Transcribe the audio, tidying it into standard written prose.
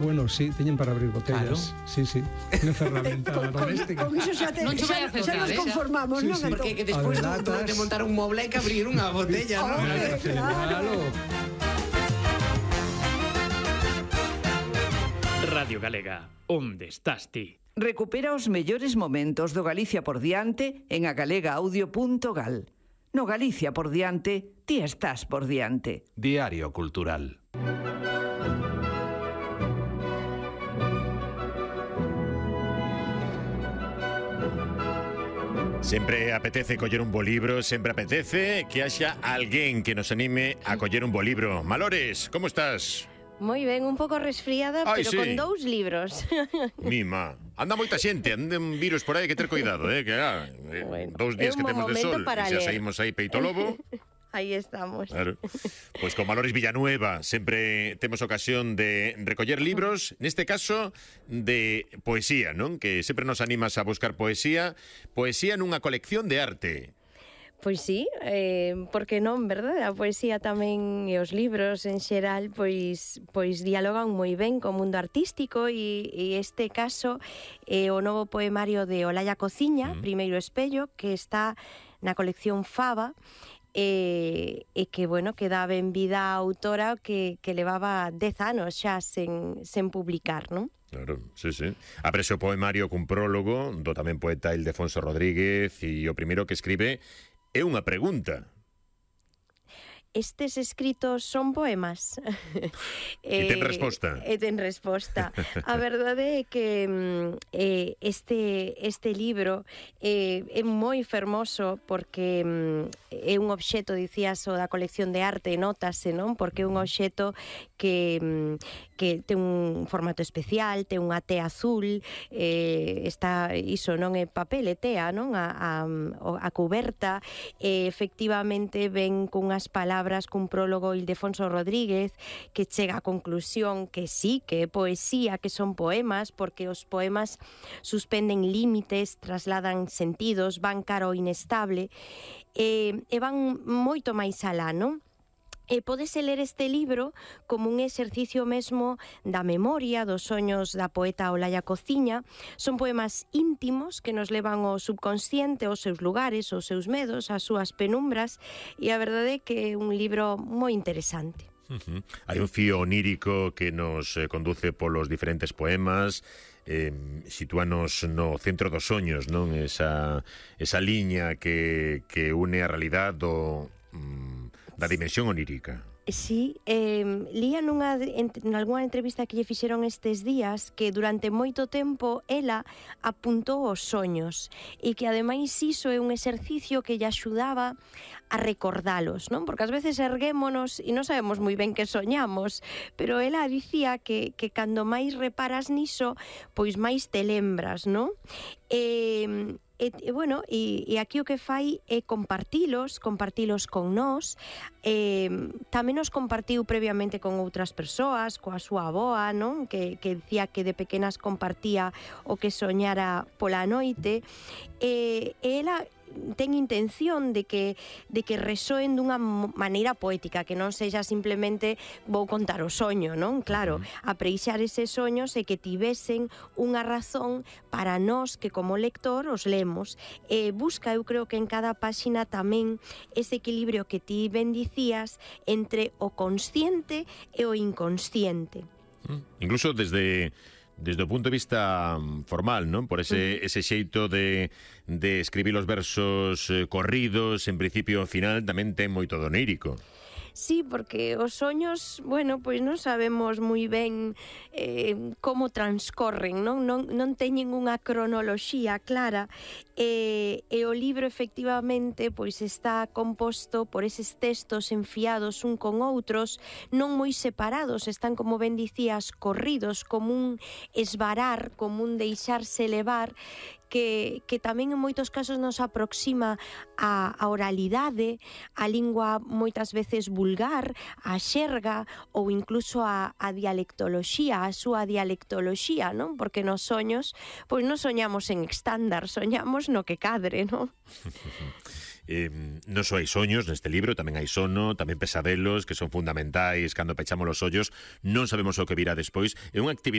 Bueno, sí, teñen para abrir botellas. Claro. Sí, sí. Unha ferramenta doméstica. Con iso xa nos conformamos, Sí, non? sí. Porque que despois Adelantas. de montar un moble hai que abrir unha botella, non? Hombre, Claro. Radio Galega, onde estás ti? Recupera os mellores momentos do Galicia por diante en agalegaaudio.gal. No Galicia por diante, ti estás por diante. Diario Cultural. Sempre apetece coller un bo libro, sempre apetece que haxa alguén que nos anime a coller un bo libro. Malores, como estás? Moi ben, un pouco resfriada, Ai, pero sí. con 2 libros. Mima, anda moita xente, andan virus por aí, que ter cuidado, que Bueno, 2 días é que un temos de momento sol, para e xa ler. saímos aí peito lobo. Aí estamos. Claro. Pois con Malores Villanueva sempre temos ocasión de recoller libros, neste caso de poesía, non? Que sempre nos animas a buscar poesía nunha colección de arte. Pois sí, porque non, verdade? A poesía tamén e os libros en xeral pois dialogan moi ben co mundo artístico e este caso é o novo poemario de Olaya Cociña, Primeiro Espello, que está na colección Faba, e que, bueno, que dá ben vida á autora que levaba 10 anos xa sen publicar, non? Claro, sí, sí. Aprecio o poemario cun prólogo do tamén poeta Ildefonso Rodríguez e o primeiro que escribe é unha pregunta. Estes escritos son poemas. E ten resposta. E ten resposta. A verdade é que este libro é moi fermoso porque é un obxeto, dicías, o da colección de arte, notase, non? Porque é un obxeto que ten un formato especial, ten unha tea azul, está, iso non é papel, é tea, non? A cuberta, efectivamente ven cunhas palabras, cun prólogo Ildefonso Rodríguez, que chega á conclusión que sí, que é poesía, que son poemas, porque os poemas suspenden límites, trasladan sentidos, van cara ao inestable, e van moito máis alá, non? E pódese ler este libro como un exercicio mesmo da memoria, dos soños da poeta Olaya Cociña. Son poemas íntimos que nos levan ao subconsciente, aos seus lugares, aos seus medos, ás súas penumbras, e a verdade é que é un libro moi interesante. Hai un fío onírico que nos conduce polos diferentes poemas, sitúanos no centro dos soños, non? Esa liña que une a realidade da dimensión onírica. Sí, lía nalgúna entrevista que lle fixeron estes días que durante moito tempo ela apuntou os soños e que ademais iso é un exercicio que lle axudaba a recordalos, non? Porque ás veces erguémonos e non sabemos moi ben que soñamos, pero ela dicía que cando máis reparas niso, pois máis te lembras, non? Bueno, e aquí o que fai é compartilos con nós, tamén nos compartiu previamente con outras persoas, coa súa avoa, non? Que dicía que de pequenas compartía o que soñara pola noite, e ela ten intención de que resoen dunha maneira poética, que non sexa simplemente vou contar o soño, non? Claro, apreixar eses soños e que tivesen unha razón para nós que como lector os lemos. Busca, eu creo que en cada páxina tamén ese equilibrio que ti ben dicías entre o consciente e o inconsciente. Incluso desde o punto de vista formal, non? Por ese xeito de escribir os versos corridos, en principio ao final, tamén ten moito doneírico. Sí, porque os soños, bueno, pois non sabemos moi ben como transcorren, non teñen unha cronoloxía clara, e o libro efectivamente pois está composto por eses textos enfiados un con outros, non moi separados, están, como ben dicías, corridos, como un esvarar, como un deixarse levar, que tamén en moitos casos nos aproxima a oralidade, a lingua moitas veces vulgar, a xerga ou incluso a dialectoloxía, a súa dialectoloxía, non? Porque nos soños, pois non soñamos en estándar, soñamos no que cadre, non? non só hai soños neste libro, tamén hai sono, tamén pesadelos que son fundamentais cando pechamos os ollos, non sabemos o que virá despois. É unha actividade